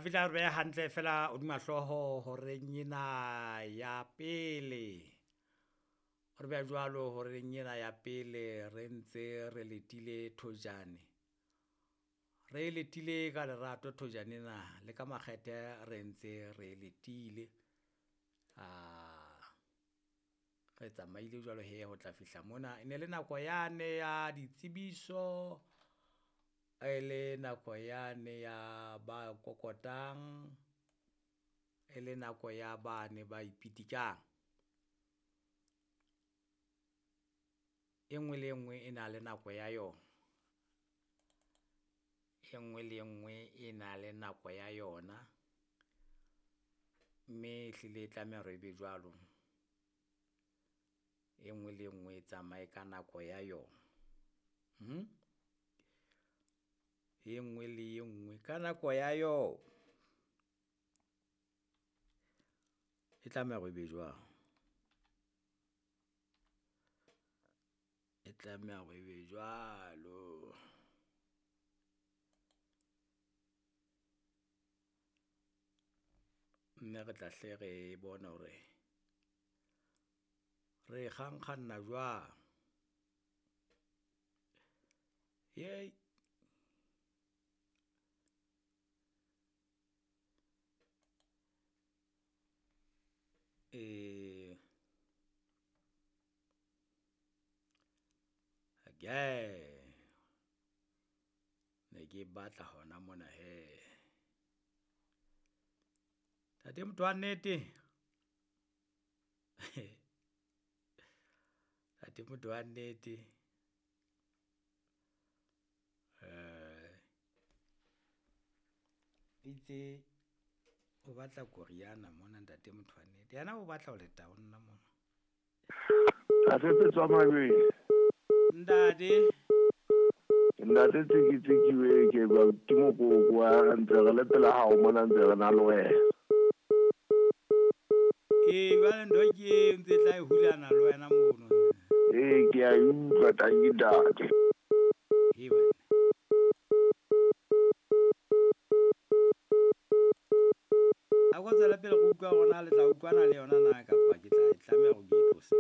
Fihla re beha hantle fela hodima hlooho horeng ena ya pele. Re beha jwalo horeng ena ya pele re ntse re letile thojane. Re letile ka lerato thojane ena le ka makgethe re ntse re letile. Re tsamaile jwalo hee ho tla fihla mona, e ne le nako yane ya ditsebiso, e le nako yane ya ba kokotang, e le nako ya bane ba ipitikang. E ngwe le e ngwe e na le nako ya yona, e ngwe le e ngwe e na le nako ya yona, mme ehlile e tlameha hore e be jwalo. E ngwe le e ngwe e tsamaye ka nako ya yona, e ngwe le e ngwe ka nako ya yona. E tlameha hore e be jwalo, e tlameha hore e be jwalo. Mme re tla hle re bone hore, re kgankganna jwang . Ne ke batla hona mona hee. Ntate motho wa nnete, ntate motho wa nnete itse o batla koriana mona ntate motho wa nnete, yena o batla ho leta ho nna mona. Ntate Petswa Mabeng. Ntate. Ntate Tsiki Tsiki we ke ba ke mokoko wa ntse re le pela hao mona ntse re na le wena. Ee, jwale ntho ke eo ntse tla e hulana le wena mono. Ee, ke a e utlwa tanki ntate. He banna. A ko tswele pele re utlwa hore na le tla utlwana le yona na kapa ke tla e tlameha hore ke e tlose.